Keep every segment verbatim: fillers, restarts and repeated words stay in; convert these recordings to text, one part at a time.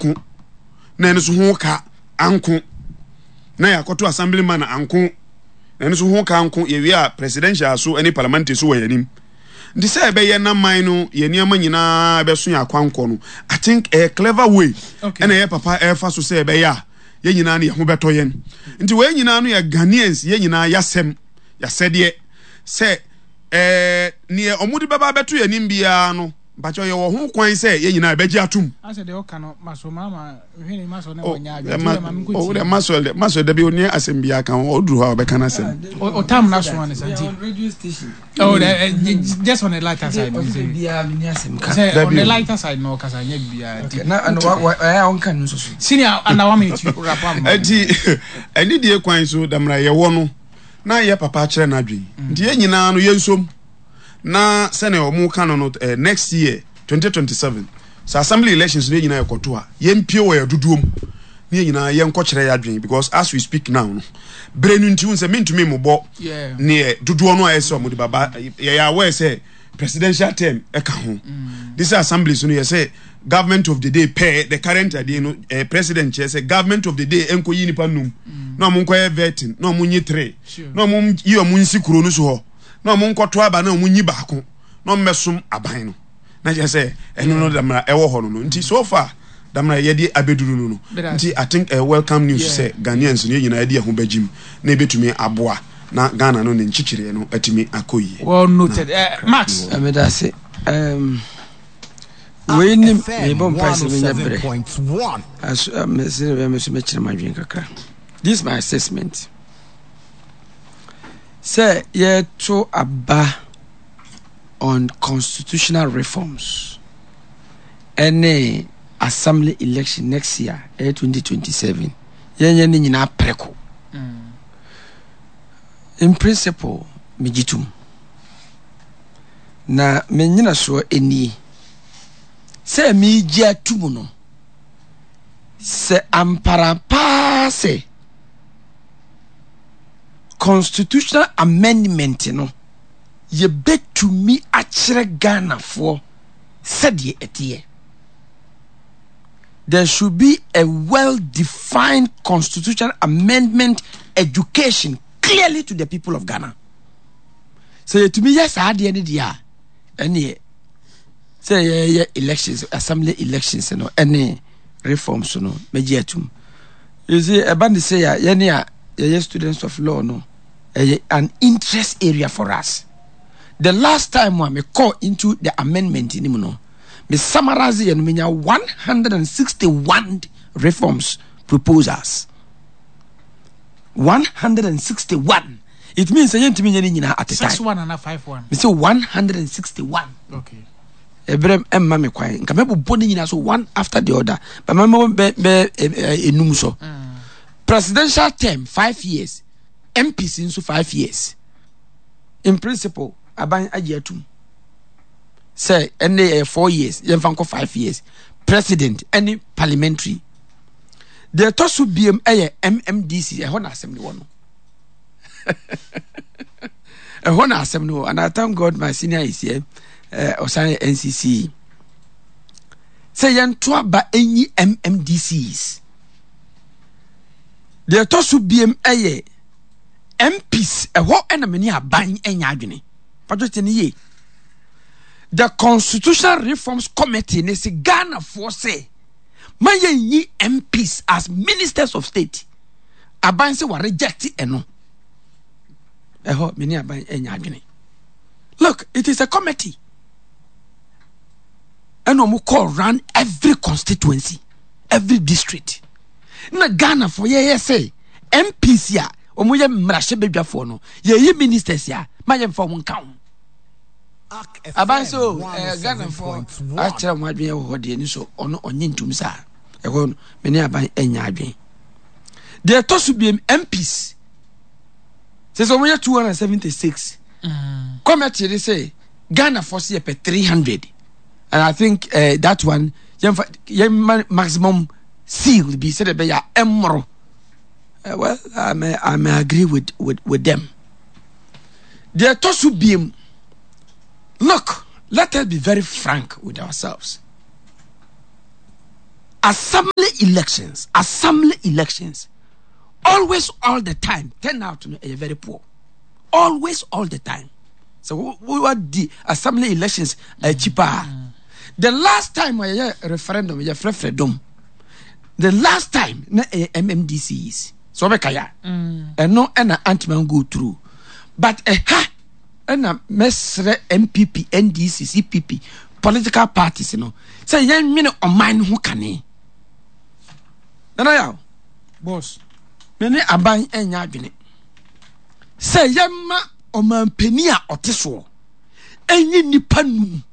anko, na ɛno nso ho ka anko, na yɛakɔto assemblyman anko, na ɛno nso ho ka anko. Yɛwie a, presidential so ne parliamentary so wɔ yɛn anim. Nti sɛ ɛbɛyɛ na man no yɛ nneɛma nyinaa bɛso yɛ akwankɔ no, I think ɛyɛ clever way ɛna ɛyɛ papa ɛfa so sɛ ɛbɛyɛ a yɛn nyinaa no yɛn ho bɛtɔ yɛn. Nti wɔn nyinaa no yɛ Ghanaians, yɛn nyinaa yɛasɛm yɛasɛdeɛ sɛ ɛɛ neɛ ɔmo de bɛba abɛto yɛn anim biara no, mpakyɛw, yɛwɔ ho kwan sɛ yɛn nyinaa yɛbɛgye atum. Asɛ deɛ ɔka no maso mama hwene maso na Oh, wɔnya adwene ma nti ma menkɔ oh, tie. Maswell de Maswell dabi, onye asɛm biara ka ho, ɔduru hɔ a ɔbɛka n'asɛm. O- ɔtam na so ne sa nti On radio station. Oh, eh, eh, just on the lighter side. Ɔsɛ biara mi ni asɛm ka. Sɛ on Dabi the o. lighter side na ɔkasa nyɛ biara nti. Okay, na ɛno wa wa ɛyɛ a ɔnka no nso so. Senior, under one minute, you wrap up. Ɛnti ɛne die kwan so damra yɛwɔ no na yɛ papa akyerɛ n'adwene, nti yɛn nyinaa no yɛnsom na sɛnea ɔmo ka no no eh, next year twenty twenty-seven sɛ assembly elections no, yɛn nyinaa yɛkɔto a, yɛmpie wɔ yɛ dodoɔ mu ne yɛn nyinaa yɛnkɔkyerɛ yɛ adwene, because as we speak now no, bere no nti sɛ mentumi mmobɔ Yeah. neɛ dodoɔ no a ɛsɛ ɔmo de baba. Yɛyɛ aware sɛ presidential term ɛka ho this assembly so no, yɛ sɛ government of the day pɛ the current adeɛ no, eh, president kyerɛ sɛ government of the day ɛnkɔ yi nipa num na ɔmo nkɔyɛ vetting na ɔmo nyi three Sure. na ɔmo yi ɔmo nsi kuro no so hɔ na ɔmo nkɔto aba na ɔmo nyi baako na ɔmo bɛsom aban no, na kyerɛ sɛ ɛno no damra ɛwɔ hɔ no no Nti so far damra yɛde abɛduru no no Bɛda. nti I think uh, welcome news Yeah. sɛ Ghanaians no, yɛn nyinaa yɛde yɛn ho bɛgyim na ebɛtumi aboa na Ghana no ne nkyekyereɛ no atumi akɔ yie. Well noted. Uh, Max. Ɛmɛda ase. Um, wei ni mebɔ mpae sɛ menya berɛ one oh seven point one. Aso mesɛ bɛ me so mɛkyerɛ m'adwene kakra. This is my assessment sɛ yɛto aba on constitutional reforms ɛne assembly election next year, ɛyɛ twenty twenty-seven, yɛnyɛ ne nyinaa prɛko. In principle, megye tom na menyina soɔ nie sɛ megye atum no sɛ ampara paa sɛ constitutional amendment no, yɛbɛtumi akyerɛ Ghanafoɔ sɛdeɛ ɛteɛ. There should be a well-defined constitutional amendment education clearly to the people of Ghana. Sɛ yɛtumi yɛ saa adeɛ no deɛ a, ɛneɛ sɛ yɛyɛ elections, assembly elections no ɛne reforms no, mɛgye atum. You see, ɛba ne sɛ a yɛne a yɛyɛ students of law no, ɛyɛ an interest area for us. The last time a me call into the amendment ni mu no, me summarize yɛ no, menya one hundred sixty-one reforms proposals. one hundred sixty-one. It means sɛ yɛntumi nyɛ ne nyinaa at a Six time. one and a five one. Me sɛ one hundred sixty-one. Okay. Ɛbrɛ ɛmma me kwan nka mɛbobɔ ne nyinaa so one after the other, but mɛmɔ bɛ bɛ enum so. Presidential term five years, M Ps nso five years. In principle, aban agye atum sɛ ɛne ɛyɛ four years, yɛmfa nkɔ five years, president ɛne parliamentary. Deɛ ɛtɔ so biem ɛyɛ M M D C. Ɛhɔ na asɛm no wɔ no, ɛhɔ na asɛm no wɔ, and I thank God my senior is here. Ɔsan yɛ N C C sɛ yɛnto aba ɛnyi M M D Cs. Deɛ ɛtɔ so biem ɛyɛ M Ps. Ɛhɔ ɛna mene aban ɛnya adwene patro kyɛ ne yie. The Constitutional Reforms Committee ne sɛ Ghanafoɔ sɛ ma yɛnyi M Ps as ministers of state. Aban sɛ wa reject ɛno. Ɛhɔ mene aban ɛnya adwene. Look, it is a committee ɛna ɔmo call round every constituency, every district, na Ghanafoɔ yɛyɛ sɛ M Ps a wɔn yɛ mmarahyɛbadwafoɔ no, yɛyi ministers a ma yɛmfa wɔn nka ho. Aban so ɛɛ Ghanafoɔ akyerɛ wɔn adwene wɔ hɔ deɛ ni so, ɔno ɔnye ntum saa. Ɛhɔ no mene aban ɛnya adwene. Deɛ ɛtɔ so biem, M Ps sɛ sɛ wɔn yɛ two hundred and seventy six, committee de sɛ Ghanafoɔ sɛ yɛpɛ three hundred, and I think uh, that one yɛmfa yɛma maximum seal bi sɛdeɛ ɛbɛyɛ a ɛmmoro. uh, well I may, I may agree with, with, with them. Deɛ ɛtɔ so biem, look, let us be very frank with ourselves. Assembly elections, assembly elections, always all the time, turnout no ɛyɛ very poor. Always all the time. So we were the assembly elections akyi paa. The last time a yɛyɛ referendum yɛ frɛfrɛ The last time na ɛyɛ M M D Cs. So ɔbɛka ya. Ɛno ɛna antman go through. But ɛha ɛna mɛsrɛ N P P, N D C, C P P, political parties no sɛ yɛnwene ɔman no ho kane. Nana Yaw, boss. Me ne aban ɛnyɛ adwene sɛ yɛma ɔmanpanin a ɔte soɔ ɛnyi nipa num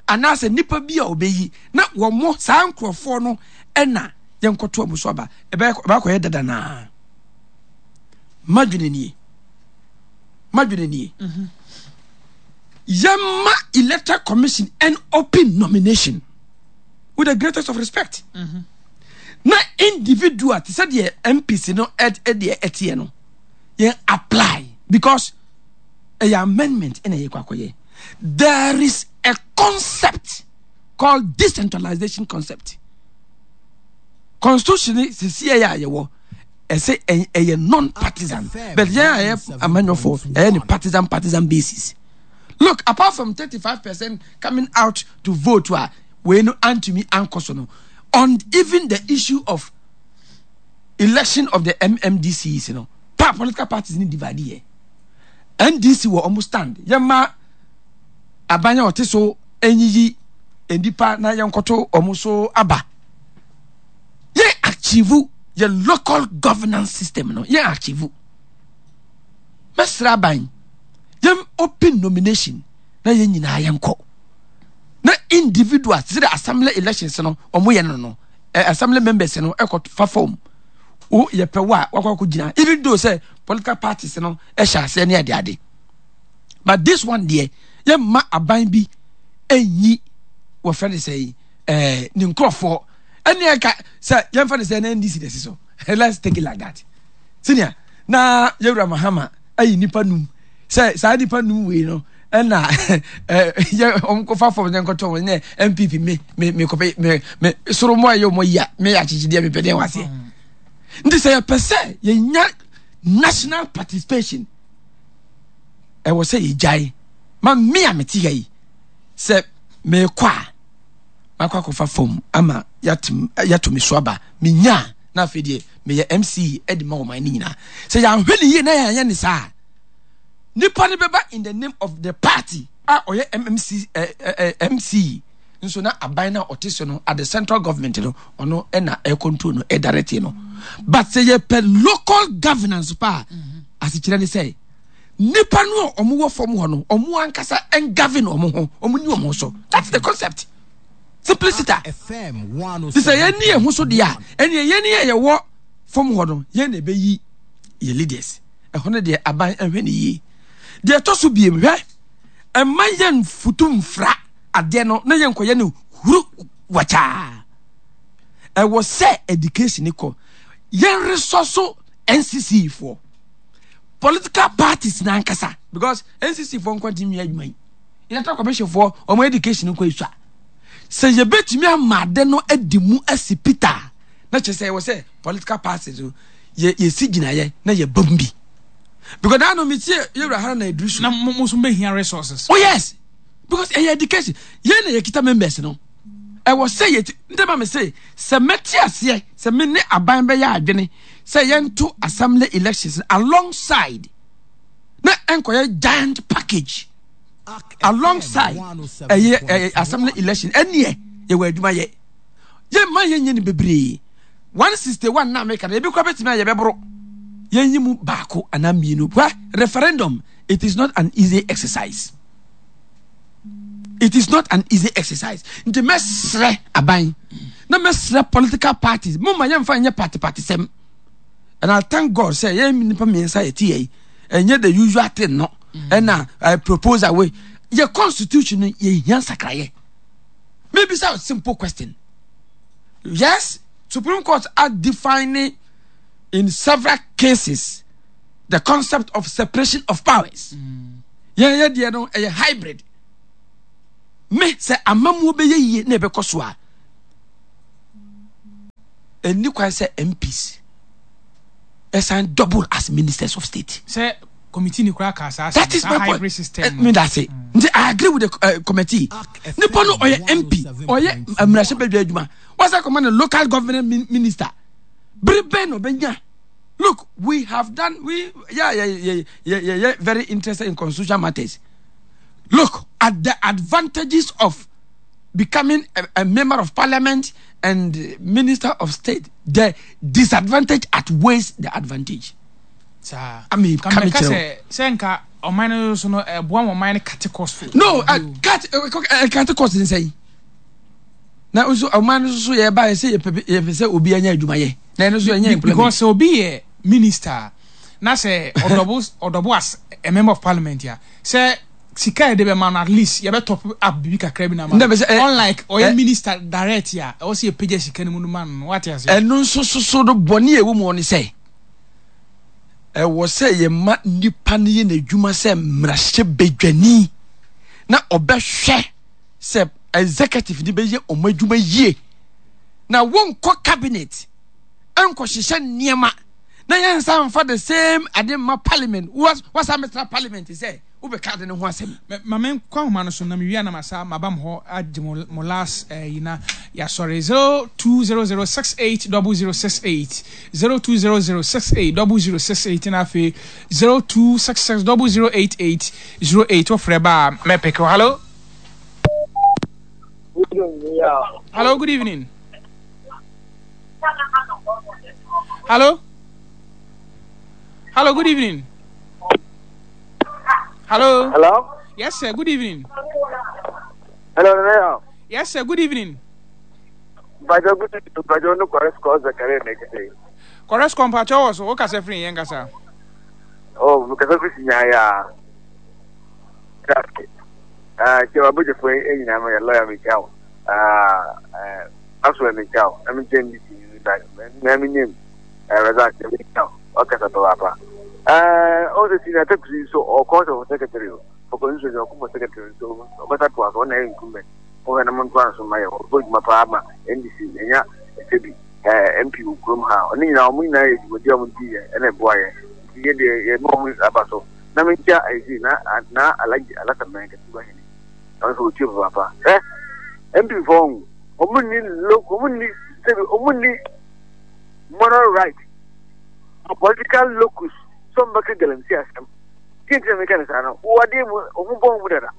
anaasɛ nipa bi a ɔbɛyi na wɔn mo saa nkurɔfoɔ no ɛna yɛnkɔto ɔmo so aba. Ɛbɛyɛ ɛbɛakɔyɛ dada naa. Madwene nie, madwene nie: yɛma Electoral Commission an open nomination with the greatest of respect na individual te sɛ deɛ M Ps no ɛdeɛ ɛteɛ no yɛn apply, because ɛyɛ amendment ɛna yɛ kɔ akɔyɛ. There is a concept called decentralization concept. Constitution ni sisi ɛyɛ a yɛwɔ ɛsɛ ɛyɛ non-partisan, but yɛn a yɛ amanyɔfo ɛyɛ ne partisan partisan basis. Look, apart from thirty-five percent coming out to vote a wei no antumi ankɔ so no, on even the issue of election of the M M D Cs you know, pa political parties ni divide yɛ. N D C wɔ ɔmo stand, yɛma aban a ɔte so enyiyi nipa na yɛnkɔto ɔmo so aba. Yɛn achieve yɛ local governance system no, yɛn achieve. Mɛsrɛ aban, yɛn open nomination na yɛn nyinaa yɛnkɔ na individuals te sɛ the assembly elections no ɔmo yɛ no no ɛ assembly members no ɛkɔ fa form o, yɛpɛ wo a wakɔ akɔ gyina, even though sɛ political parties no ɛhyɛ aseɛ ne ade ade. But this one deɛ, yɛmma aban bi ɛnyi wɔfrɛ no sɛ yi ɛɛ ne nkurɔfoɔ ɛne ɛka sɛ yɛmfa no sɛ ɛna N D C na ɛsi so. Let's take it like that. Senior na yɛwura Mahama ayi nipa num sɛ saa nipa num wei no ɛna ɛɛ yɛ wɔn kɔfa fɔm ne nkɔtɔ wɔn ne N P P me me me kɔpɛ me me soro mo a yɛ wɔn yi a me yɛ akyekyedeɛ me pɛ deɛ wɔ aseɛ. Nti sɛ yɛpɛ sɛ yɛnya national participation, ɛwɔ sɛ yɛgyae ma me a mete ha yi sɛ meekɔ a makɔ akɔfa fam ama yɛato me so aba menya a, na afei deɛ meyɛ M C de ma ɔman no nyinaa. Sɛ yɛanhwɛ ne yie na yɛanyɛ ne saa, nipa no bɛba in the name of the party a ɔyɛ M M C eh, eh, eh, M C nso na aban no a ɔte so no at the central government no, ɔno ɛna ɛ control no, ɛ direct no. But sɛ yɛpɛ local governance pa a, asekyerɛ ne sɛ nipa no a ɔmo wɔ fam hɔ no, ɔmo ankasa ɛn govern ɔmo ho, ɔmo ni ɔmo so. That's the concept, simplicity. Ti sɛ yɛn ni yɛn ho so deɛ a, ɛnni yɛn ni yɛ yɛwɔ fam hɔ no, yɛn na ɛbɛyi yɛ leaders. Ɛhɔ no deɛ, aban ɛhwɛ ne yie. Deɛ ɛtɔ so biem, hwɛ, ɛma yɛn futu nfra adeɛ no na yɛn nkɔyɛ no huru wakyaa. Ɛwɔ sɛ education kɔ yɛn resource N C C foɔ, political parties n'ankasa, because N C C foɔ nkɔ ntumi adwuma yi. Electoral Commission foɔ, wɔn education nkɔ esua sɛ yɛbɛtumi ama ade no adi mu asi peter na kyerɛ sɛ ɛwɔ sɛ political parties no yɛ yɛsi gyinaeɛ na yɛ bam bi, because naa no mi tie yɛwura ha na eduru so. Na mo mo nso bɛhia resources. Oh yes, because ɛyɛ education yɛn na yɛkita members no. Ɛwɔ sɛ yɛ ti ntɛm a mi sɛ sɛ mɛte aseɛ sɛ me ne aban bɛyɛ adwene sɛ yɛnto assembly elections alongside na ɛnkɔyɛ giant package alongside ɛyɛ ɛyɛ assembly election. Ɛneɛ yɛwɔ adwuma yɛ, yɛn mma yɛn nyɛ ne bebree. One sixty one na meka na ebi kora bɛtumi a yɛbɛboro yɛn yi mu baako anaa mmienu. Hwɛ, referendum, it is not an easy exercise. It is not an easy exercise. Nti mɛsrɛ aban na mɛsrɛ political parties, mo ma yɛmfa nyɛ party party sɛm. And I thank God sɛ yɛn nipa mmiɛnsa yɛ ti yɛ yi, ɛnyɛ the usual thing no. Ɛna uh, proposal wey yɛ constitution no yɛ hia nsakrayɛ. Maybe say simple question. Yes, Supreme Court are defining in several cases the concept of separation of powers. Yɛn yɛ deɛ no ɛyɛ hybrid. Me sɛ amamuo bɛyɛ yie na ɛbɛkɔ so a, Ɛnni kwan sɛ M Ps ɛsan double as ministers of state. Sɛ committee ni koraa ka saa. That is my point system. Eh, me da se nti I agree with the uh, committee. Nipa no ɔyɛ M P, ɔyɛ mmarahyɛbadwa adwuma, wasa kɔma no local government minister bere bɛn na ɔbɛnya? Look, we have done, we, yeah yeah yeah yeah yeah, yeah very interested in constitutional matters. Look at the advantages of becoming a, a member of parliament and minister of state. The disadvantage outweighs the advantage. Saa. I mean, ka mɛka sɛ sɛ nka ɔman no so no ɛboa ma ɔman no cut cost. No, uh, cut uh, cut cost n sɛn na nso ɔman no so yɛ ba yɛ sɛ yɛpɛ yɛpɛ sɛ obi anya adwuma yɛ na ɛno nso ɛnyɛ employment. Because sɛ obi yɛ minister na sɛ ɔdouble ɔdouble as a member of parliament ya, sɛ sika yɛ de bɛ ma no, at least yɛbɛ top up bibi kakra bi na ma no, unlike ɔyɛ minister direct ya, ɛwɔ sɛ yɛpagya sika no mu no ma no, wate ase. Ɛno nso soso no, bɔne a ɛwɔ mu no sɛ ɛwɔ sɛ yɛma nipa no yɛ n'adwuma sɛ mmarahyɛ badwani na ɔbɛhwɛ sɛ executive ni bɛyɛ ɔmo adwuma yie, na wɔnkɔ cabinet nkɔhyehyɛ nneɛma na yɛnsa nfa the same ade mma parliament. Wasa mɛtena parliament sɛ wobɛka ade no ho asɛm. Ma menkɔ ahoma no so na mewie na masa maba mo hɔ agye mo mo last yi na yɛasɔre. zero two zero zero six eight double zero six eight, zero two zero zero six eight double zero six eight, na afei zero two six six double zero eight eight zero eight. Wofrɛ ba a, mɛpeke. Hello, hello, good evening. Hello, hello, good evening. Hello. Hello. Yes, sir. Good evening. Hello, Mayor. Yes, sir. Good evening. Bajo, good evening. Bajo no correspond Zakaria Nekete. Correspond pa cho so wo kasa firi yɛn kasa. Oh, kasa firi sinya ya. Traffic. Ah, che wa budget for enyina mo ya lawyer me chao. Ah, eh, aso me chao. Na me chen di ba na me nim. Eh, result me chao. O kasa to apa. Eh, o se senior taxi so o court of secretary for constitution o for secretary so o bata to aso na incumbent. O na mo nto aso ma ye o bo dwuma pa ma N D C enya ebi eh M P wɔ kurom ha. Ɔne nyinaa, ɔmo nyinaa yɛ dwumadi a ɔmo di yɛ ɛna ɛboa yɛ, nti yɛ deɛ yɛ ma ɔmo aba so na menkyia ayisi na na Alhaji Alasa Mɛn kɛse ba hene ɔno nso wɔtie papaapa. Ɛ M P fɔ ɔmo ni lo, ɔmo ni sɛbi, ɔmo ni moral right, political locus sɛ ɔmo bɛka galamsey asɛm. Tí nti na meka ne saa no, wɔ adeɛ mu ɔmo bɔ ɔmo dada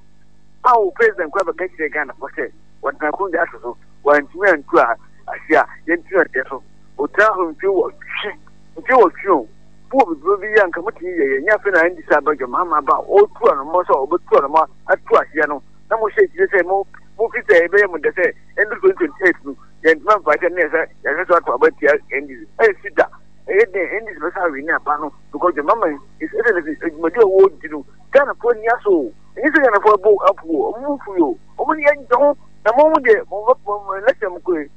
a wo president kora bɛka kyerɛ Ghana fɔ sɛ wɔtena akonnwa ato so, wɔantumi antu a ase a yɛntumi adeɛ so ɔtena so mfe wɔtwe mfe wɔtwe o wowɔ bibiro bi yɛ anka motumi yɛ yɛ nyɛ. Afei na ɛndi sɛ abadwa mahama ba ɔtu anoma sɛ ɔbɛtu anoma atu aseɛ no na mohyɛ akyire sɛ mo mofi sɛ ɛbɛyɛ mo dɛ sɛ ɛndu twenty twenty-eight no yɛntumi amfa kyɛ ne yɛ sɛ yɛhwɛ so ato aba tia N D C. Ɛnsi da, ɛyɛ den N D C bɛsa awe ne aba no because the mama is ɛsɛ adwumadi a wɔdi no, Ghanafoɔ ani aso o. Ɛnyɛ sɛ Ghanafoɔ ɛbɔ apu o, ɔmo mu fu yi o, ɔmo ni agye ho na mo mo deɛ mo mo election mo kɔ yi,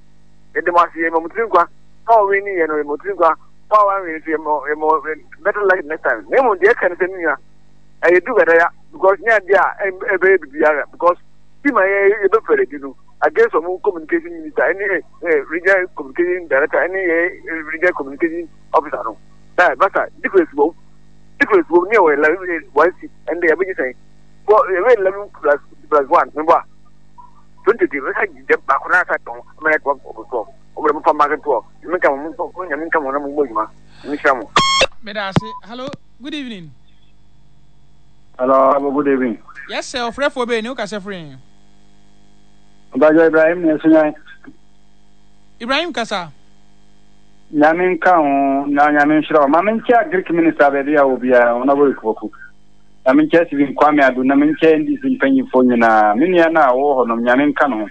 yɛde mo ase, yɛ mo tiri nkwa na ɔwe ne yɛ no, yɛ mo tiri nkwa mo a wanwe nso, yɛ mo yɛ mo better luck next time. Na emu deɛ ɛka ne sɛ ne nua ɛyɛ du gada because nyɛ adeɛ a ɛbɛyɛ bibiara because team a yɛ yɛbɛfɛrɛ di no against ɔmo communication minister ɛne ɛ regional communication director ɛne yɛ regional communication officer no ɛ basa difference wɔ difference wɔ ne yɛ wɔ eleven one seat, ɛnde yɛbɛgye sɛn fɔ yɛbɛ eleven plus plus one ne bɔ a twenty two bɛsa gyegye baako na asa tɔn ama yɛ twelve over twelve. Ɔmo de mo fa market twelve, nyame nka mo, mo nyame nka mo na mo bɔ adwuma, nyame hyira mo. Meda ase. Hello, good evening. Hello, good evening. Yes sir, ɔfrɛfoɔ bɛyɛ ni wo kasa firi? Bajo Ibrahim ne Sunyan. Ibrahim, kasa. Nyame nka ho na nyame nhyira wo. Ma menkyɛ Agric minister baabi a wɔ biara, Honorable Ikuboku. Na menkyɛ Stephen Kwame Ado, na menkyɛ N D C mpanyimfoɔ nyinaa. Me nua no a wɔwɔ hɔ nom, nyame nka no ho.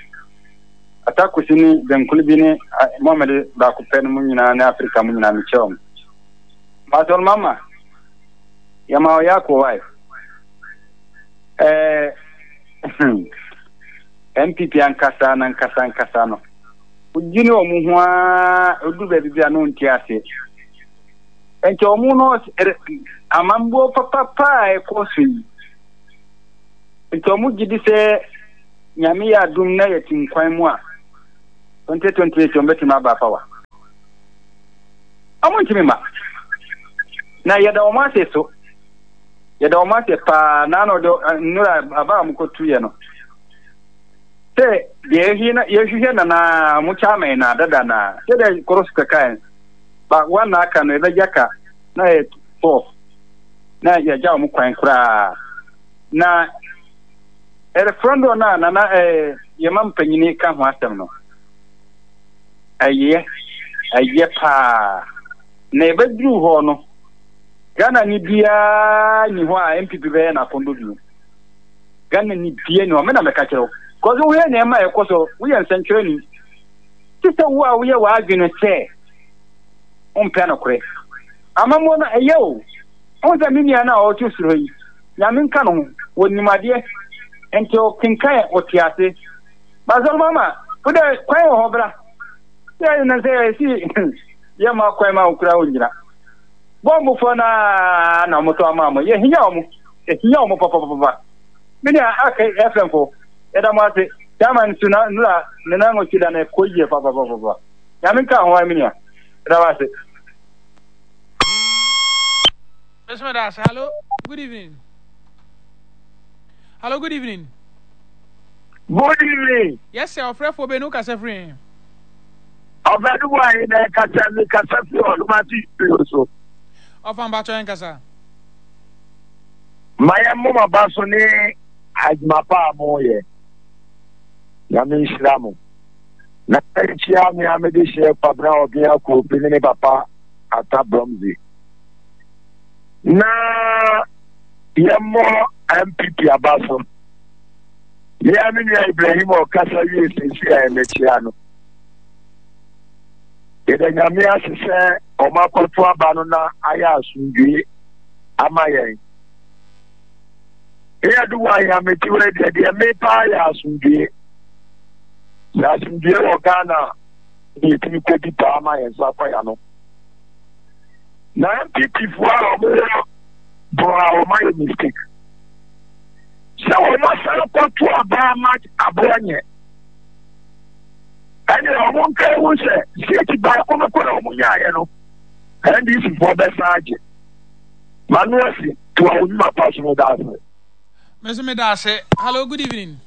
Atakusi ne Zankulu bi ne Mohammed baako pɛ no mu nyinaa ne Afrika mu nyinaa, mekyɛ wɔn. Pastor Mama, yɛma ɔyɛ akɔ wae. Ɛɛ N P P ankasa na nkasa ankasa no, wogye ne wɔn ho ara oduru baabi bi a no nte aseɛ. Nti wɔn no amambuo papapa a ɛkɔ so yi, nti wɔn gye di sɛ Nyame yɛ adum na yɛte nkwan mu a, twenty twenty-eight wɔn bɛtumi aba power. Ɔmo ntumi ma. Na yɛda wɔn ase so. Yɛda wɔn ase paa na ano de nnura aba a wɔkɔtuiɛ no. Sɛ deɛ yɛhwehwɛ na yɛhwehwɛ na na mo chairman na dada na sɛdeɛ koro so kɛkae ba wɔn na aka no yɛbɛgya ka na yɛ twelve na yɛgya wɔn kwan koraa na referendum no a nana ɛɛ yɛma mpanyini ka ho asɛm no ɛyɛ ɛyɛ paa na yɛbɛduru hɔ no Ghana ni biara ni hɔ a N P P bɛyɛ n'akɔndɔ bio. Ghana ni biara ni hɔ, me na mɛka kyerɛ wo. Kɔso woyɛ nneɛma a ɛkɔ so, woyɛ nsɛntwerɛni. Te sɛ wo a woyɛ w'adwene sɛ wompɛ nokorɛ. Amammuo no ɛyɛ o. Wohu sɛ me nua no a ɔte soro yi, Nyame nka no ho, wɔnim adeɛ. Nti ɔkenkan ɔte ase. Basɔre mama, wo dɛ kwan wɔ hɔ bra. Sɛ na sɛ ɛsi yɛma kwan ma wo koraa wongyina. Bɔmbofoɔ no ara na wɔtɔ ama mo. Yɛhia wɔn. Yɛhia wɔn papapapa. Me nua Ak F M fo, yɛda mo ase. Chairman nso na nura ne nan nwɔtwe da no ɛkɔ yie papapapa. Nyame nka ho me nua. Yɛda wo ase. Miss Medas, hello, good evening. Hello, good evening. Good evening. Yes, sir. Ɔfrɛfoɔ bɛ no kasa firi. Ɔfɛ no mu ayi na ɛkasa mi kasa firi ɔlomati studio so. Ɔfa mpatsɔ yɛn kasa. Ma yɛn moma ba so ne adwuma pa a mo yɛ. Nyame nhyira mo. Na nkyia me a mede hyɛ Kwabena Ɔbea Kofi ne ne papa Ata Bromzi. Na yɛmmɔ N P P aba so. Me a me nua Ibrahim ɔkasa wie sisi a ɛmɛkyia no. Yɛda Nyame ase sɛ ɔmo akɔto aba no na ayɛ asomdwoe ama yɛn. Eyɛ do wɔ ahemeti wɔ deɛ deɛ me paa yɛ asomdwoe. Sɛ asomdwoe wɔ Ghana na yɛtumi kɔdi paa ma yɛn nsa kɔ ya no. Na N P P foɔ a ɔmo wɔ borɔ a ɔmo ayɛ mistake. Sɛ ɔmo asan kɔto aba ama aboa nyɛ. Ɛne ɔmo nka ehu sɛ seeti baako no kora ɔmo nyaayɛ no N D C foɔ bɛsan agye. Manu ase to a onyuma pa so no da ase. Me nso meda ase. Hello, good evening.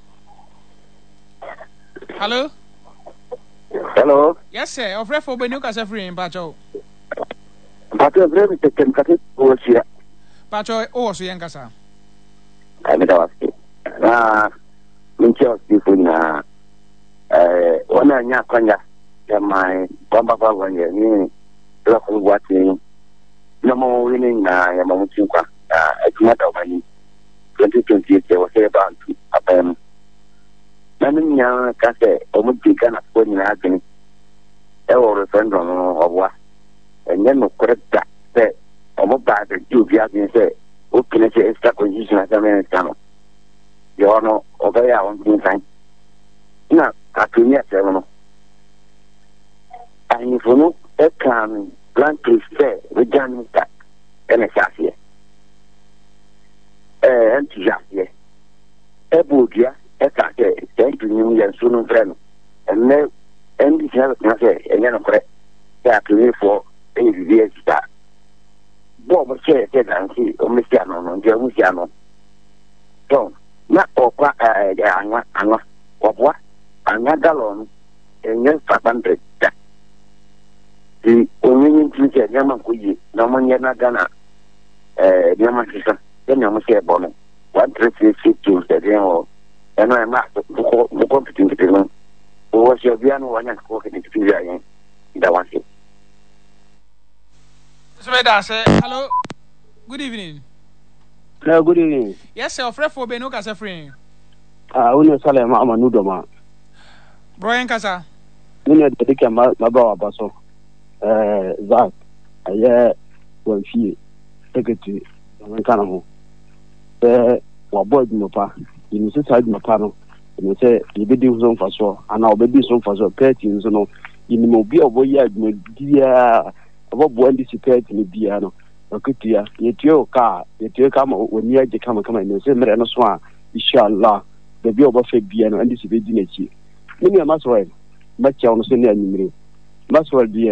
Hello. Hello. Yes, sir. Ɔfrɛfoɔ bɛ ni o kasa firi mpakyɛw. Mpakyɛw firi mi tɛtɛ mi kasa wɔ sua. Mpakyɛw o wɔ so yɛn kasa. Ɛmi da wa se. Na mi nkyɛn ɔsifo nyinaa. Ɛɛ wɔn a nya akwanya yɛ man wɔn ba wɔn yɛ ne lɔkɔ bu ate na mo wi ne nyinaa yɛ ma mo ti nkwa na adwuma da wɔn anim twenty twenty eight yɛ wɔ sɛ yɛba ntu aban mu na ne nyinaa ka sɛ wɔn di Ghanafoɔ nyinaa adwene ɛwɔ referendum no ɔboa ɛnyɛ nokorɛ da sɛ wɔn ba abɛgye obi adwene sɛ wopene sɛ ɛsika constitution asɛm ɛnsa no deɛ ɔno ɔbɛyɛ a ɔntumi nsan na atoni asɛm no ahemfo no ɛkaa no bluntly sɛ regional minister ɛna ɛhyɛ aseɛ ɛɛ ɛnti hyɛ aseɛ ɛbɔ odua ɛka sɛ ɛnti nim yɛ nsuo no mfrɛ no ɛnnɛ N D C na bɛtena sɛ ɛnyɛ nokorɛ sɛ atonifoɔ ɛyɛ biribi asi saa bɔɔ mo hyɛɛ sɛ danse ɔmo si ano no nti ɔmo si ano tɔn na ɔkwa ɛɛ anwa anwa ɔboa anwa galɔn no ɛnyɛ five hundred da nti onye nye ntumi sɛ nneɛma nkɔ yie na ɔmo nyɛ na Ghana ɛɛ nneɛma sesa sɛnea ɔmo sɛ ɛbɔ no one three three six two sɛ ɛdeɛn wɔ ɛno ɛma nkokɔ nkokɔ nketenkete no wɔwɔ sɛ ɔbea no wɔanya nkokɔ nketenkete bi a yɛn da wase. So meda ase. Hello, good evening. Hello, good evening. Yes, sir. Ɔfrɛfoɔ bɛ ni o kasa firi. Ah, wo ne Saleh ma ama nu dɔma. Bro yɛn kasa. Me nua deɛ dika ma ma ba waba so. Eh, Zak, ɛyɛ wɔn fie secretary na nka ne ho. Sɛ wabɔ adwuma pa, yɛnim sɛ saa adwuma pa no, yɛnim sɛ yɛbɛdi so mfasoɔ anaa ɔbɛdi so mfasoɔ. Pɛɛti nso no, yɛnim obi a ɔbɛyɛ adwuma biara, ɔbɛboa N D C pɛɛti no biara no, ɔketua. Yɛtua o kaa, yɛtua ka ma w'ani agye kamakama. Yɛnim sɛ mmerɛ no so a, inshallah, baabi a ɔbɛfa biara no, N D C bɛdi n'akyi. Me nua Maxwell, mɛkyɛw no so ne anwummere. Maxwell deɛ,